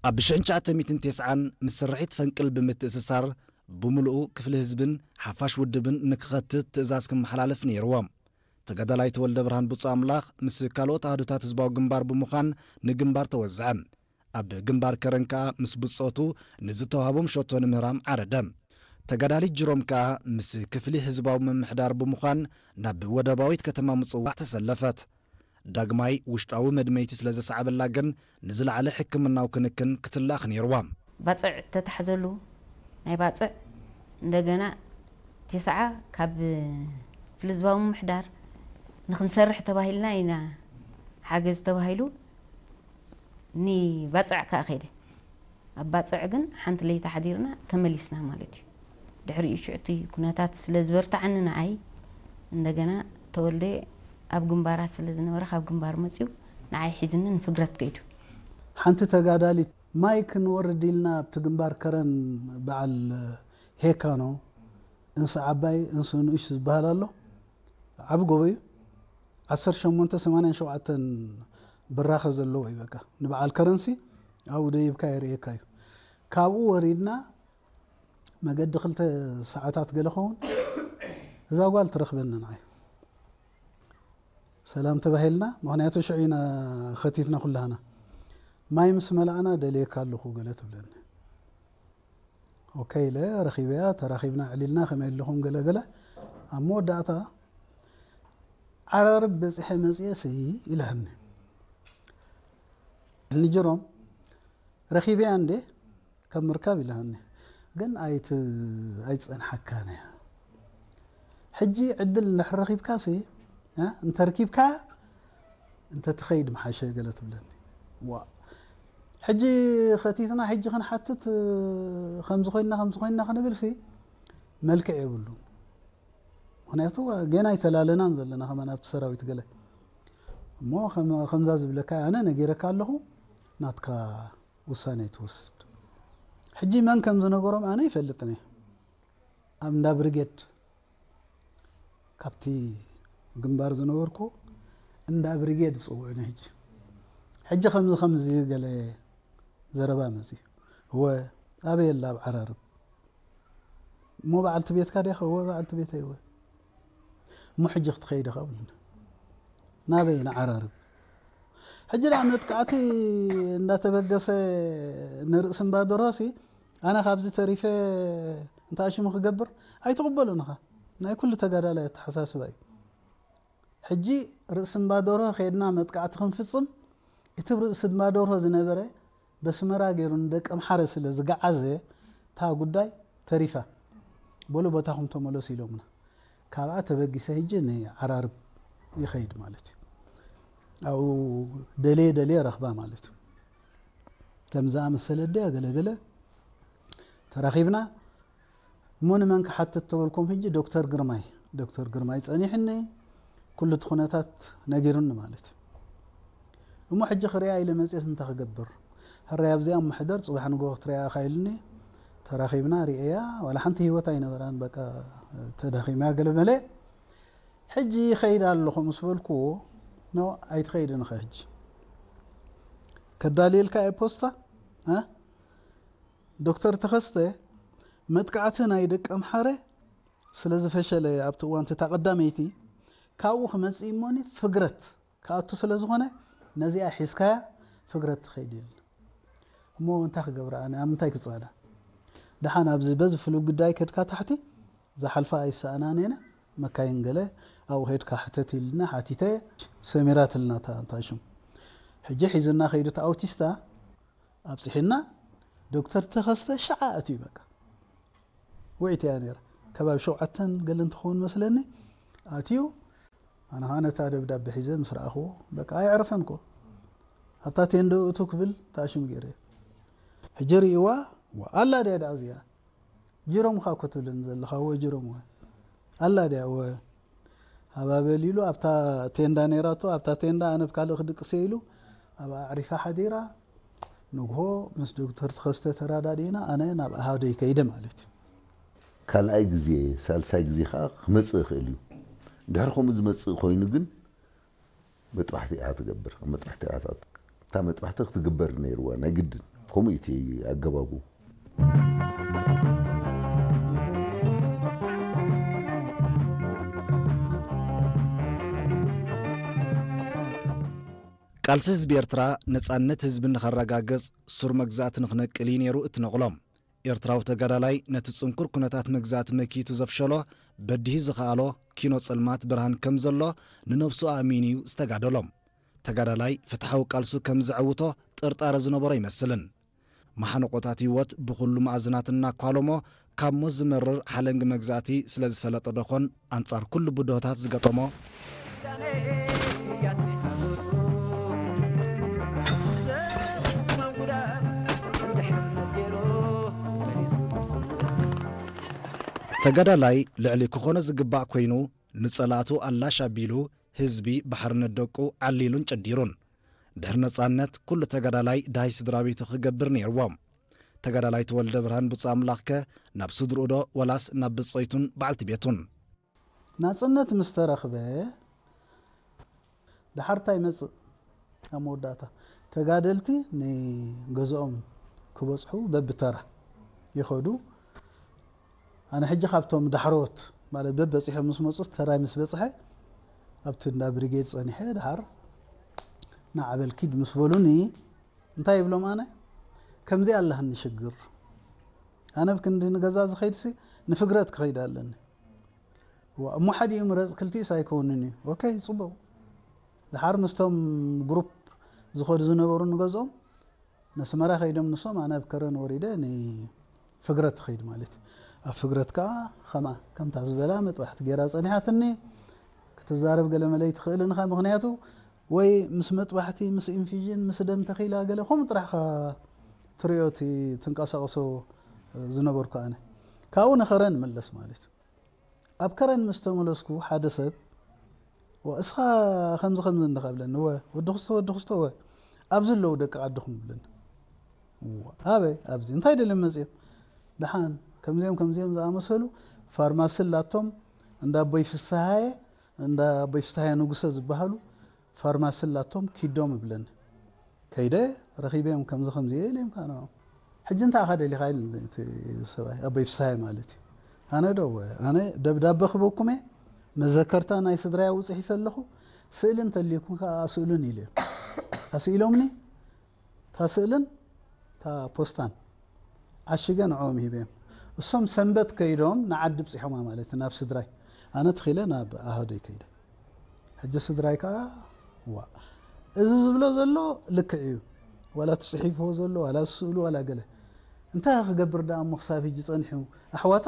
ኣብ ሽሕን ትሽዓተ ሚእትን ተስዓን ምስ ስርሒት ፈንቅል ብምትእስሳር፣ ብምሉኡ ክፍሊ ህዝብን ሓፋሽ ውድብን ንክኸትት ትእዛዝ ክመሓላለፍ ነይርዎ። ተጋዳላይ ተወልደ ብርሃን ብፁዕ ኣምላኽ ምስ ካልኦት ኣሃዱታት ህዝባዊ ግንባር ብምዃን ንግንባር ተወዝዐ። ኣብ ግንባር ከረን ከኣ ምስ ብጾቱ ንዝተዋህቦም ሸቶ ንምህራም ዓረደ። ተጋዳሊት ጅሮም ከኣ ምስ ክፍሊ ህዝባዊ ምምሕዳር ብምዃን ናብ ወደባዊት ከተማ ምጽዋዕ ተሰለፈት። ዳግማይ ውሽጣዊ መድመይቲ ስለ ዘሰዓበላ ግን ንዝለዓለ ሕክምናዊ ክንክን ክትላኽ ነይርዋ። ባጽዕ ተታሕዘሉ፣ ናይ ባጽዕ እንደገና ቴስዓ ካብ ክፍሊ ህዝባዊ ምምሕዳር ንክንሰርሕ ተባሂልና ኢና ሓገዝ ተባሂሉ ንባጽዕ ከኣ ከይደ። ኣብ ባጽዕ ግን ሓንቲ ለይቲ ሓዲርና ተመሊስና ማለት እዩ። ድሕሪኡ ሽዑ እቲ ኩነታት ስለ ዝበርትዓኒ ንዓይ እንደገና ተወልደ ኣብ ግንባራት ስለ ዝነበረ ካብ ግንባር መጺኡ ንዓይ ሒዝኒ ንፍግረት ከይዱ። ሓንቲ ተጋዳሊት ማይ ክንወርድ ኢልና ኣብቲ ግንባር ከረን በዓል ሄካኖ እንስ ዓባይ እንስ ንኡሽ ዝበሃል ኣሎ። ዓቢ ጎቦ እዩ። ዓሰርተ ሸሞንተ ሰማንያን ሸውዓተን ብራኸ ዘለዎ እዩ። በቃ ንበዓል ከረንሲ ኣብኡ ደይብካ የርእየካ እዩ። ካብኡ ወሪድና መገዲ ክልተ ሰዓታት ገለ ኸውን እዛ ጓል ትረኽበኒ ንዓይ። ሰላም ተባሂልና፣ ምኽንያቱ ሽዑ ኢና ኸቲትና ኩላህና። ማይ ምስ መላእና ደልየካ ኣለኹ ገለ ትብለኒ። ኦኬ ኢለ ረኺበያ፣ ተራኺብና ዕሊልና ከመይ ኣለኹም ገለ ገለ። ኣብ መወዳእታ ዓራርብ በጺሐ መጽኤ ሲ ኢላኒ። ንጅሮም ረኺበያ እንዴ ካብ ምርካብ ኢላኒ። ግን ኣይት-፣ ኣይትጸንሓካን እያ። ሕጂ ዕድል እንድሕር ረኺብካሲ፣ እ፣ እንተርኪብካ እንተትኸይድ ምሓሸ ገለ ትብለኒ። ዋ፣ ሕጂ ኸቲትና፣ ሕጂ ክንሓትት፣ ከምዚ ኮይንና፣ ከምዚ ኮይንና ክንብልሲ መልክዕ የብሉን። ምኽንያቱ ገና ኣይተላለናን ዘለና ከማን ኣብቲ ሰራዊት ገለ። እሞ ከም-፣ ከምዛ ዝብለካ ኣነ ነጊረካ ኣለኹ፣ ናትካ ውሳኔ ትወስድ። ሕጂ መን ከም ዝነገሮም ኣነ ይፈልጥን እየ። ኣብ እንዳ ብሪጌድ ካብቲ ግንባር ዝነበርኩ እንዳ ብሪጌድ ዝጽውዑኒ ሕጂ። ሕጂ ከምዚ ከምዚ ገለ ዘረባ መጽዩ። እወ፣ ኣበይ ኣላ ኣብ ዓራርብ? እሞ በዓልቲ ቤትካ ዲኻ? እወ፣ በዓልቲ ቤተይ እወ። እሞ ሕጂ ክትኸይድ ኢኻ ብሉኒ። ናበይ? ንዓራርብ። ሕጂ ደኣ መጥቃዕቲ እንዳተበገሰ ንርእሲ እምባ ደርሆሲ ኣነ ካብዚ ተሪፈ እንታይ ሽሙ ክገብር ኣይትቕበሉን ኢኻ። ናይ ኩሉ ተጋዳላይ ኣተሓሳስባ እዩ። ሕጂ ርእሲ እምባ ደርሆ ከይድና መጥቃዕቲ ክንፍጽም፣ እቲ ብ ርእሲ እምባ ደርሆ ዝነበረ በስመራ ገይሩ ንደቀምሓረ ስለ ዝገዓዘ፣ እታ ጉዳይ ተሪፋ። በሉ ቦታኹም ተመለሱ ኢሎምና። ካብኣ ተበጊሰ ሕጂ ንዓራርብ ይኸይድ ማለት እዩ። ኣብኡ ደልየ ደልየ ረኽባ ማለት እዩ። ከም ዝኣመሰለ ኣደያ ገለ ገለ ተራኺብና። እሞ ንመን ክሓትት ተበልኩም፣ ሕጂ ዶክተር ግርማይ፣ ዶክተር ግርማይ ጸኒሕኒ፣ ኩሉ እቲ ኩነታት ነጊሩኒ ማለት እዩ። እሞ ሕጂ ክሪኣ ኢለ መጽየስ እንታይ ክገብር? ሕራይ ኣብዚኣ እሞ ሕደር፣ ጽባሕ ንግሆ ክትሪኣ ኢኻ ኢሉኒ። ተራኺብና፣ ሪኤያ፣ ዋላ ሓንቲ ህይወት ኣይነበራን፣ በቃ ተዳኺማ ገለ መለ። ሕጂ ይኸይድ ኣለኹ ምስ በልኩዎ፣ ኖ፣ ኣይትኸይድን ኢኻ ሕጂ። ከዳልየልካ እየ ፖስታ፣ እ? ዶክተር ተኸስተ መጥቃዕቲ ናይ ደቀምሓረ ስለ ዝፈሸለ ኣብቲ እዋን እታ ቀዳመይቲ ካብኡ ክመጽእ እሞኒ ፍግረት ክኣቱ ስለ ዝኾነ ነዚኣ ሒዝካያ ፍግረት ትኸይድ ኢሉኒ። እሞ እንታይ ክገብር ኣነ ኣብ ምንታይ ክጻለ? ደሓን ኣብዚ በዚ ፍሉይ ጉዳይ ከድካ ታሕቲ ዝሓልፋ ኣይሰኣናን እየን መካይን ገለ ኣብኡ ከድካ ሕተት ኢልና ሓቲተ ሰሚራትልና እታ እንታይ ሽም ሕጂ ሒዙና ከይዱ እቲ ኣውቲስታ ኣብፅሒና ዶክተር ተኸስተ ሸዓ ኣትዩ በቃ ውዒት እያ ነይራ ከባቢ ሸውዓተን ገለ እንትኸውን መስለኒ ኣትዩ ኣነ ከዓ ነታ ደብዳቤ ሒዘ ምስ ረኣኽዎ በቃ ኣይዕረፈን ኮ ኣብታ ቴንዶ እቱ ክብል ተኣሽም ገይረ ሕጂ ርእይዋ ኣላ ድያ ደኣ እዚኣ ጅሮምኻ እኮ ትብለኒ ዘለኻ እወ ጅሮም እወ ኣላ ድያ እወ ሃባበል ኢሉ ኣብታ ቴንዳ ነይራቶ ኣብታ ቴንዳ ኣነ ብካልእ ክድቅሰ ኢሉ ኣብ ኣዕሪፋ ሓዲራ ንግሆ ምስ ዶክተር ተኸስተ ተራዳዲእና ኣነ ናብ ኣሃደይ ከይደ ማለት እዩ ካልኣይ ግዜ ሳልሳይ ግዜ ከዓ ክመፅእ ይኽእል እዩ ድሕሪ ከምኡ ዝመፅእ ኮይኑ ግን መጥባሕቲ እያ ትገብር መጥባሕቲ እያ እታ መጥባሕቲ ክትግበር ነይርዋ ናይ ግድን ከምኡ እቲ ኣገባቡ። ቃልሲ ህዝቢ ኤርትራ ነጻነት ህዝቢ ንኸረጋግጽ ሱር መግዛእቲ ንኽነቅል እዩ ነይሩ እቲ ነቕሎ። ኤርትራዊ ተጋዳላይ ነቲ ጽንኩር ኩነታት መግዛእቲ መኪቱ ዘፍሸሎ፣ በዲሂ ዝኸኣሎ ኪኖ ጸልማት ብርሃን ከም ዘሎ ንነብሱ ኣእሚኑ እዩ ዝተጋደሎ። ተጋዳላይ ፍትሓዊ ቃልሱ ከም ዘዐውቶ ጥርጣረ ዝነበሮ ኣይመስልን። መሓንቆታት ህይወት ብኹሉ መኣዝናት እናኳለሞ ካብ ሞት ዝመርር ሓለንጊ መግዛእቲ ስለ ዝፈለጠ ዶኾን ኣንጻር ኩሉ ብድሆታት ዝገጠሞ ተጋዳላይ ልዕሊ ክኾኖ ዝግባእ ኮይኑ ንጸላእቱ ኣላሽ ኣቢሉ ህዝቢ ብሓርነት ደቁ ዓሊሉን ጨዲሩን። ድሕሪ ነጻነት ኩሉ ተጋዳላይ ድሃይ ስድራ ቤቱ ክገብር ነይርዎ። ተጋዳላይ ተወልደ ብርሃን ብፁዕ ኣምላኽከ ናብ ስድርኡ ዶ ወላስ ናብ ብጸይቱን በዓልቲ ቤቱን? ናጽነት ምስ ተረኽበ ደሓር እንታይ ይመጽእ? ኣብ መወዳእታ ተጋደልቲ ንገዝኦም ክበጽሑ በብተራ ይኸዱ። ኣነ ሕጂ ካብቶም ዳሕሮት ማለት በበጺሖም ምስ መጹ ተራይ ምስ በጽሐ ኣብቲ እንዳ ብሪጌድ ጸኒሐ ደሓር ንዓበል ኪድ ምስ በሉኒ እንታይ ይብሎም ኣነ ከምዚ ኣለሃኒ ሽግር ኣነ ብክንዲ ንገዛ ዝኸይድሲ ንፍግረት ክኸይድ ኣለኒ እሞ ሓዲኡ ምረፅ ክልቲኡስ ኣይከውንን እዩ ኦኬ ፅቡቅ ድሓር ምስቶም ግሩፕ ዝኸዱ ዝነበሩ ንገዝኦም ነስመራ ከይዶም ንሶም ኣነ ኣብ ከረን ወሪደ ንፍግረት ትኸይድ ማለት እዩ ኣብ ፍግረት ከዓ ከማ ከምታ ዝበላ መጥባሕቲ ገይራ ፀኒሓትኒ ክትዛረብ ገለ መለይ ትኽእል ንኻ ምክንያቱ ወይ ምስ መጥባሕቲ ምስ ኢንፊዥን ምስ ደም ተኺላ ገለ ከምኡ ጥራሕኻ ትሪኦ እቲ ትንቀሳቐሶ ዝነበርኩ ኣነ ካብኡ ንኸረን መለስ ማለት እዩ ኣብ ከረን ምስ ተመለስኩ ሓደ ሰብ እስኻ ከምዚ ከምዚ እንዲኻ ብለኒ ወ ወዲ ክስቶ ወዲ ክስቶ ወ ኣብዚ ኣለዉ ደቂ ዓድኹም ብለኒ ኣበይ ኣብዚ እንታይ ደልዮም መፅኦም ደሓን ከምዚኦም ከምዚኦም ዝኣመሰሉ ፋርማሲ ላቶም እንዳ ኣቦይ ፍስሃየ እንዳ ኣቦይ ፍስሃየ ንጉሰ ዝበሃሉ ፋርማሲ ላቶም ኪዶም ይብለኒ ከይደ ረኺበዮም ከምዚ ከምዚ እየ ኢለዮም ከዓ ንዕኦም ሕጂ እንታይ ኢኻ ደሊኻ ኢሉ እቲ ሰብኣይ ኣቦይ ፍስሃየ ማለት እዩ ኣነ ዶ ኣነ ደብዳበ ክበኩም እየ መዘከርታ ናይ ስድራይ ኣብኡ ፅሒፈ ኣለኹ ስእሊ እንተልዩኩም ከዓ ኣስእሉን ኢለዮም ኣስኢሎምኒ እታ ስእልን እታ ፖስታን ዓሽገ ንዕኦም ሂበዮም እሶም ሰንበት ከይዶም ንዓዲ ብፂሖማ ማለት ናብ ስድራይ ኣነ ትኺለ ናብ ኣሃዶይ ከይደ ሕጂ ስድራይ ከዓ ዋ እዚ ዝብሎ ዘሎ ልክዕ እዩ ዋላ ትፅሒፍዎ ዘሎ ዋላ ዝስእሉ ዋላ ገለ እንታይ ክገብር ደኣ እሞ ክሳብ ሕጂ ፀኒሑ ኣሕዋቱ